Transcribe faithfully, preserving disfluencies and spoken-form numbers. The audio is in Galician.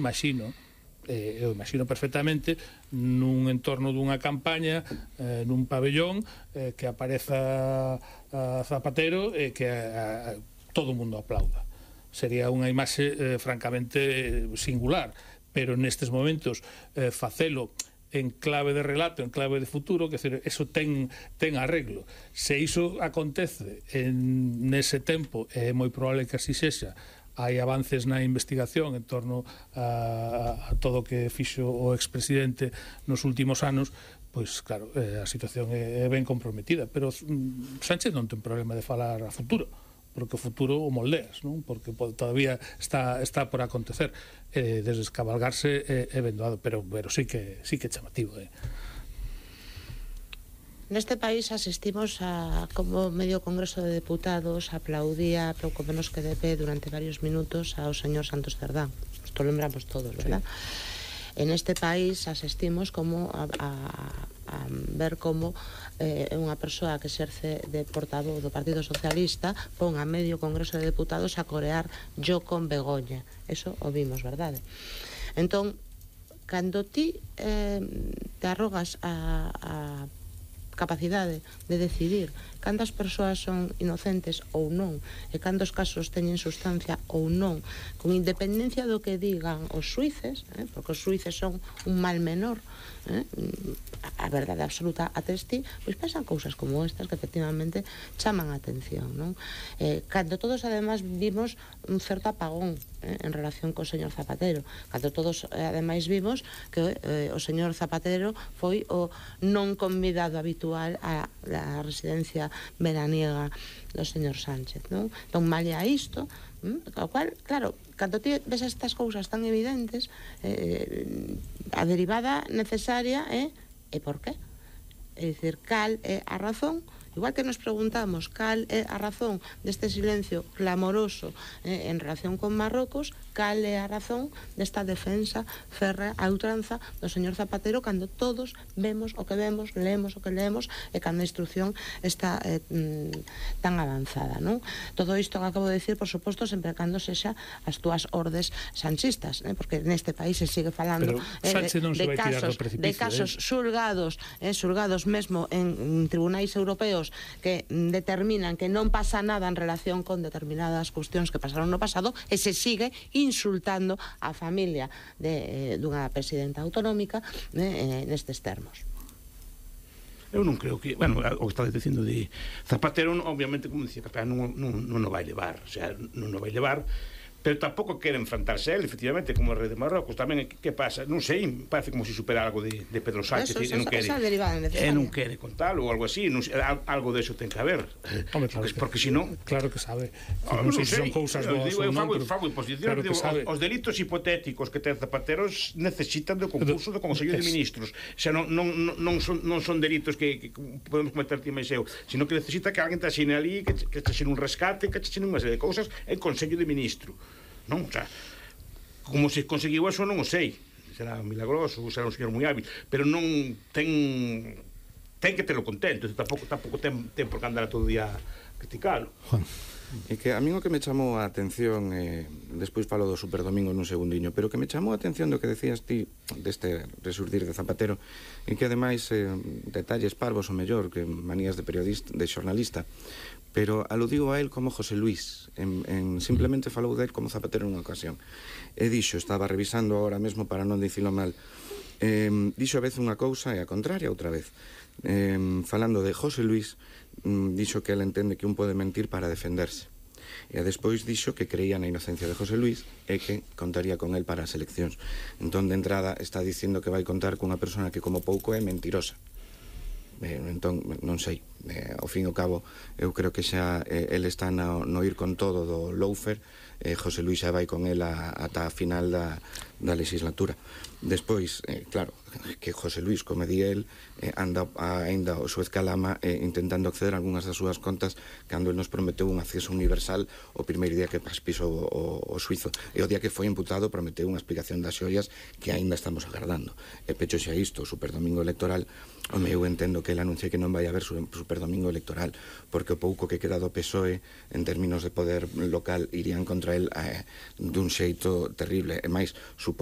imagino, eh, eu imagino perfectamente nun entorno dunha campaña, eh, nun pabellón, eh, que apareza a Zapatero e que a, a, todo o mundo aplauda. Sería unha imaxe eh, francamente singular, pero nestes momentos eh, facelo en clave de relato, en clave de futuro, que decir, eso ten, ten arreglo. Se iso acontece en nese tempo, é moi probable que así sexa, hai avances na investigación en torno a, a todo o que fixo o expresidente nos últimos anos, pois claro, eh, a situación é, é ben comprometida, pero mm, Sánchez non ten problema de falar a futuro, porque o futuro o moldeas, non? Porque todavía está, está por acontecer, eh, descabalgarse é, é vendoado, pero, pero sí que sí que é chamativo, eh. Neste país asistimos a como medio Congreso de Deputados aplaudía pouco menos que de pé durante varios minutos ao señor Santos Cerdán. Isto lembramos todos, verdad? Sí. En este país asistimos como a, a, a ver como é eh, unha persoa que exerce de portavoz do Partido Socialista pon a medio Congreso de Deputados a corear Yo con Begoña. Eso o vimos, verdade? Entón, cando ti eh, te arrogas a, a capacidade de decidir cantas persoas son inocentes ou non e cantos casos teñen sustancia ou non, con independencia do que digan os xuíces, eh, porque os xuíces son un mal menor, eh, a verdade absoluta atesti, pois pasan cousas como estas que efectivamente chaman a atención, non? Eh, cando todos ademais vimos un certo apagón eh, en relación co señor Zapatero, cando todos eh, ademais vimos que eh, o señor Zapatero foi o non convidado habitual a la residencia veraniega do señor Sánchez, non? Entón, malia isto, o cual, claro, cando ti ves estas cousas tan evidentes, eh, a derivada necesaria é e por qué? É dicir, cal é a razón? Igual que nos preguntamos cal é a razón deste silencio clamoroso eh, en relación con Marrocos, cal é a razón desta defensa férrea a ultranza do señor Zapatero cando todos vemos o que vemos, leemos o que leemos e cando a instrucción está eh, tan avanzada, non? Todo isto que acabo de decir, por suposto, sempre cando sexa as túas ordes sanchistas, eh? Porque neste país se sigue falando eh, de, de, casos, de casos eh? xulgados, eh, xulgados mesmo en, en tribunais europeos que determinan que non pasa nada en relación con determinadas cuestións que pasaron no pasado e se sigue insultando a familia de, dunha presidenta autonómica eh, nestes termos. Eu non creo que, bueno, o que estás dicindo de Zapatero, obviamente, como dicía Capela, non, non, non o vai levar, o sea, non o vai levar, pero tampouco quere enfrentarse a él, efectivamente, como o rei de Marrocos. Tamén, que pasa? Non sei, parece como se supera algo de, de Pedro Sánchez, e non quere, e non quere contalo ou algo así, non sei, algo de eso ten que haber. Hombre, claro, porque, porque si non... Claro que sabe. Oh, non sei se son cousas boas ou non, pero... Fago imposición, claro digo, os, os delitos hipotéticos que ten Zapatero necesitan do concurso do Consello de Ministros. O sea, non, non, non, son, non son delitos que, que podemos cometer ti máis eu, sino que necesita que alguén te axine ali, que, que te axine un rescate, que te axine unha serie de cousas en Consello de Ministros. Non, o sea, como se conseguiu eso non o sei, será milagroso, será un señor moi hábil, pero non ten ten que telo contento, tampouco, tampouco ten, ten por que andar todo o día a criticalo. E que a min o que me chamou a atención, eh, despois falo do Superdomingo nun segundiño, pero que me chamou a atención do que decías ti deste resurdir de Zapatero, e que ademais eh, detalles parvos o mellor que manías de periodista, de xornalista, pero aludiu a él como José Luis, en, en simplemente falou del como Zapatero nunha ocasión. E dixo, estaba revisando ahora mesmo para non dicilo mal, eh, dixo a vez unha cousa e a contraria outra vez. Eh, falando de José Luis, mm, dixo que él entende que un pode mentir para defenderse. E despois dixo que creía na inocencia de José Luis e que contaría con él para as eleccións. Entón, de entrada, está dicindo que vai contar cunha persona que como pouco é mentirosa. Eh, entón, non sei, eh, ao fin e ao cabo eu creo que xa eh, el está no, no ir con todo do Loufer, eh, José Luis xa vai con el a, ata a final da, da legislatura. Despois, eh, claro, que José Luis, como di el, eh, anda ainda o Suez Calama eh, intentando acceder a algunhas das súas contas cando el nos prometeu un acceso universal o primeiro día que pisou o, o suizo, e o día que foi imputado prometeu unha explicación das xoias que aínda estamos agardando. E pecho xa isto, o Superdomingo electoral, home, eu entendo que el anuncie que non vai haber Superdomingo electoral, porque o pouco que queda do P S O E en términos de poder local irían contra el eh, dun xeito terrible, e máis, supoño